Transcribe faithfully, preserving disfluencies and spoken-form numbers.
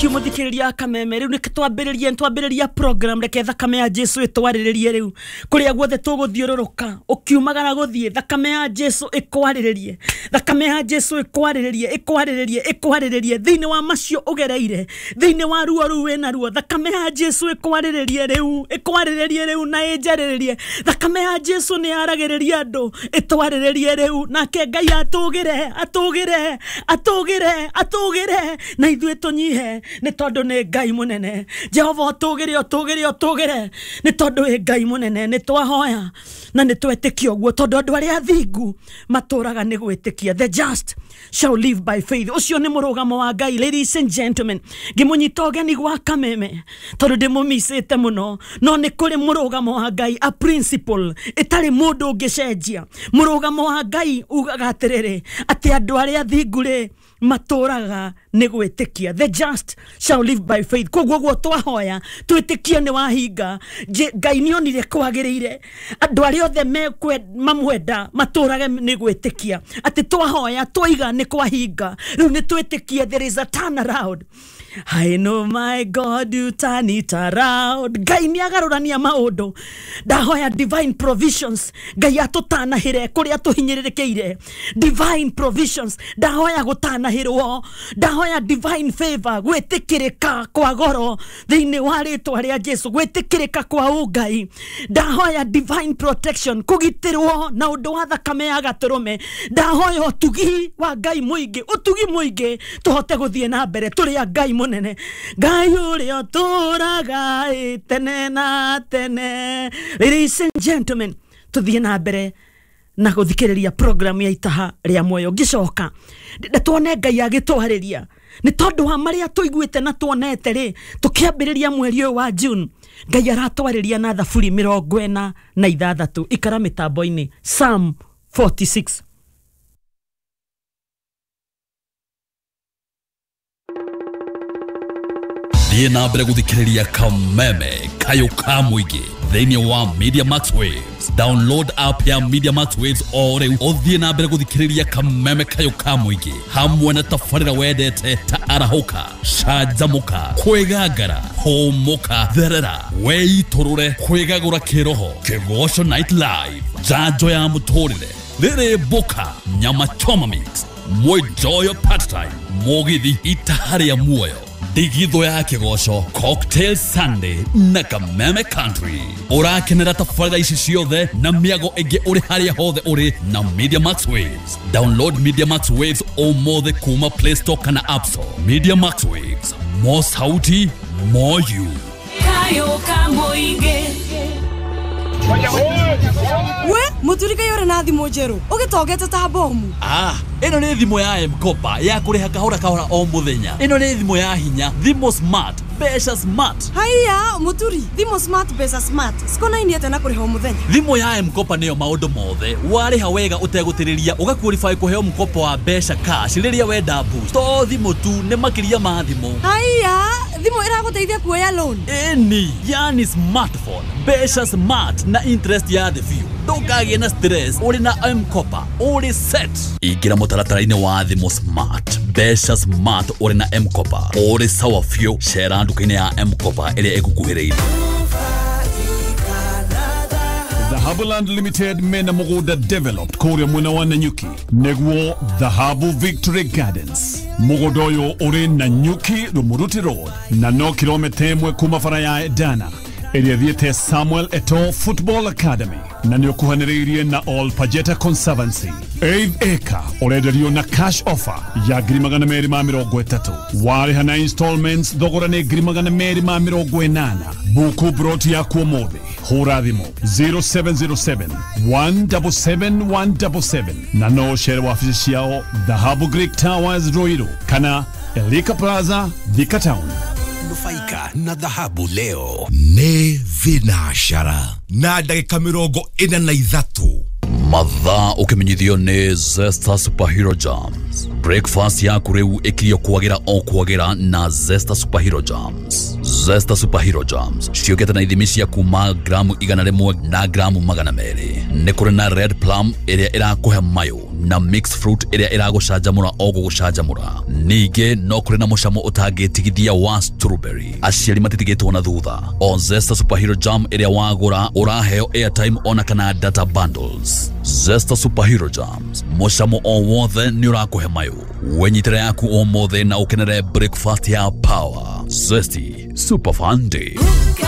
Thank you muthikiriria Kameme. Riu nĩ twambĩrĩrie twambĩrĩria program. Reke thakame ya Jesu ĩtwarĩrĩrie rĩu kũrĩa guothe tũgũthiũrũrũka, ũkiumagara gũthiĩ, thakame ya Jesu ĩkwarĩrĩrie, thakame ya Jesu ĩkwarĩrĩrie, ĩkwarĩrĩrie, ĩkwarĩrĩrie thĩinĩ wa macio ũgereire, thĩinĩ wa ruo rũu wĩna ruo. Thakame ya Jesu ĩkwarĩrĩrie rĩu, ĩkwarĩrĩrie rĩu na ĩnjarĩrĩrie. Thakame ya Jesu nĩ yaragĩrĩria andũ, ĩtwarĩrĩrie rĩu, nake Ngai atũgĩre, atũgĩre, atũgĩre, atũgĩre, na ithuĩ tũnyihe, nĩ tondũ nĩ Ngai mũnene. Jehova, ũtũgĩre, ũtũgĩre, ũtũgĩre, nĩ tondũ wĩ Ngai mũnene. Nĩ twahoya na nĩ twetĩkia ũguo, tondũ andũ arĩa athingu matũraga nĩ gwĩtĩkia. The just shall live by faith. Ũcio nĩ mũrũgamo wa Ngai. Ladies and gentlemen, ngĩmũnyita ũgeni gwa Kameme tondũ ndĩmũmicĩte mũno, no nĩ kũrĩ mũrũgamo wa Ngai, a principle ĩtarĩ mũndũ ũngĩcenjia. Mũrũgamo wa Ngai ugaga atĩrĩrĩ, atĩ andũ arĩa athingu rĩ matũraga nĩ gwĩtĩkia. The just shall live by faith. Koguo guo twahoya twĩtĩkie nĩ wahinga. Ngai nĩ onire kwagĩrĩire andũ arĩa othe mamwenda matũrage nĩ gwĩtĩkia, atĩ twahoya twaiga nĩ kwahinga. Rĩu nĩ twĩtĩkie there is a turnaround. I know my God, you turn it around. Ngai nĩ agarũrania maũndũ. Ndahoya divine provisions. Ngai atũtanahĩre kũrĩa tũhinyĩrĩrĩkĩire. Divine provisions. Ndahoya gũtanahĩrwo. Ndahoya divine favor, gwĩtĩkĩrĩka kwa goro thĩinĩ wa rĩtwa rĩa Jesu, gwĩtĩkĩrĩka kwa ũngai. Ndahoya divine protection, kũgitĩrwo na ũndũ wa thakame ya gatũrũme. Ndahoya ũtugi wa Ngai mũingĩ, ũtugi mũingĩ, tũhote gũthiĩ na mbere tũrĩ a Ngai mũnene, Ngai ũrĩa ũtũũraga tene na tene. Ladies and gentlemen, tũthiĩ na mbere na gũthikĩrĩria program ya Itaha rĩa Muoyo. Ngĩcoka tuone Ngai agĩtwarĩria nĩ tondũ wa marĩa tũiguĩte na tuonete rĩ tũkĩambĩrĩria mweri ũyũ wa June. Ngai aratwarĩria na Thaburi mĩrongo ĩna na ithathatũ. Ikara mĩtambo-inĩ, Psalm forty-six. Thiĩ na mbere gũthikĩrĩria Kameme Kayũ ka Mũingĩ thĩinĩ wa Media Max Waves. Download app ya Media Max Waves o rĩu, ũthiĩ na mbere gũthikĩrĩria Kameme Kayũ ka Mũingĩ hamwe na tabarĩra wendete ta Arahũka, Canjamũka, Kwĩgangara, Hũmũka, Therera, Weitũrũre, Kwĩgagũra Kĩroho, Kĩgoco Night Live, Njanjo ya Mũtũrĩre, Rĩrĩ Mbũka, Nyama Choma Mix, Mwenjoyo Part-Time, Mũgithi, Itaha rĩa Muoyo, Ndigithũ ya Kĩgoco, Cocktail Sunday na Kameme Country. Ũrakenera tabarĩra ici ciothe na mĩago ĩngĩ ũrĩ harĩa hothe ũrĩ na Media Max Waves. Download Media Max Waves ũmũthĩ kuma Play Store kana App Store. Media Max Waves, more sauti, more you. Kayo ka Mũingĩ. We mũturika yore na thimũ njerũ ũgĩtongete ta bomu. Ah, ĩno nĩ thimũ ya M-Kopa ya kũrĩha kahora kahora o mũthenya. Ĩno nĩ thimũ ya hinya, thimũ smart, mbeca smart. Haiya mũturi, thimũ smart, mbeca smart cikonainie atĩa na kũrĩha o mũthenya? Thimũ ya M-Kopa nĩyo maũndũ mothe. Warĩha wega ũtegũtĩrĩria, ũgaqualify kũheo mkopo wa mbeca cash rĩrĩa wenda boost. To thimũ tu, nĩ makĩria ma thimũ. Haiya, thimũ ĩragũteithia kuoya loan? Ĩni, yani smartphone, mbeca smart na interest ya thĩ biũ. Ndũkagĩe na stress, ũrĩ na M-Kopa ũrĩ set. Ingĩra mũtaratara-inĩ wa thimũ smart, mbeca smart, ũrĩ na M-Kopa ũrĩ sawa biũ. Cera nduka-inĩ ya M-Kopa ĩrĩa ĩgũkuhĩrĩirie. Dhahabuland Limited mena mũgũnda developed kũrĩa mwena wa Nanyuki, nĩguo Dhahabu Victory Gardens. Mũgũnda ũyũ ũrĩ Nanyuki Rumuruti Road na no kilomita ĩmwe kuma bara ya Dana ĩrĩa thiĩte Samuel Eto'o Football Academy, na nĩ ũkuhanĩrĩirie na All Pajeta Conservancy. Eighth acre ũrenderio na cash offer ya ngiri magana merĩ ma mĩrongo ĩtatũ. Warĩha na installments, thogora nĩ ngiri magana merĩ ma mĩrongo ĩnana. Buku broti yaku ũmũthĩ, hũra thimũ zero seven zero seven one seven seven one seven seven, na no ũcere wabici ciao Dhahabu Greek Towers, Ruiru, kana Elika Plaza, Thika Town. Nufaika na dhahabu leo. Nĩ thinacara na ndagĩka mĩrongo ĩna na ithatũ. Mathaa ũkĩmenyithio nĩ Zesta Superhero Jams. Breakfast yaku rĩu ĩkirio kwagĩra o kwagĩra na Zesta Superhero Jams. Zesta Superhero Jams ciũkĩte na ithimi cia kuma gramu igana rĩmwe na gramu magana merĩ. Nĩ kũrĩ na red plum ĩrĩa ĩrakũhe mayũ Na mixed fruit ĩrĩa ĩragũcanjamũra o gũgũcanjamũra. Ningĩ no kũrĩ na mũcamo ũtangĩtigithia wa strawberry. Aciari matitigĩtwo na thutha. O Zesta Superhero Jam ĩrĩa wagũra ũraheo airtime ona kana data bundles. Zesta Superhero Jams, mũcamo o wothe nĩ ũrakũhe mayũ. Wenyitĩre yaku ũmũthĩ na ũkenere breakfast ya power. Zesty Super Fun Day.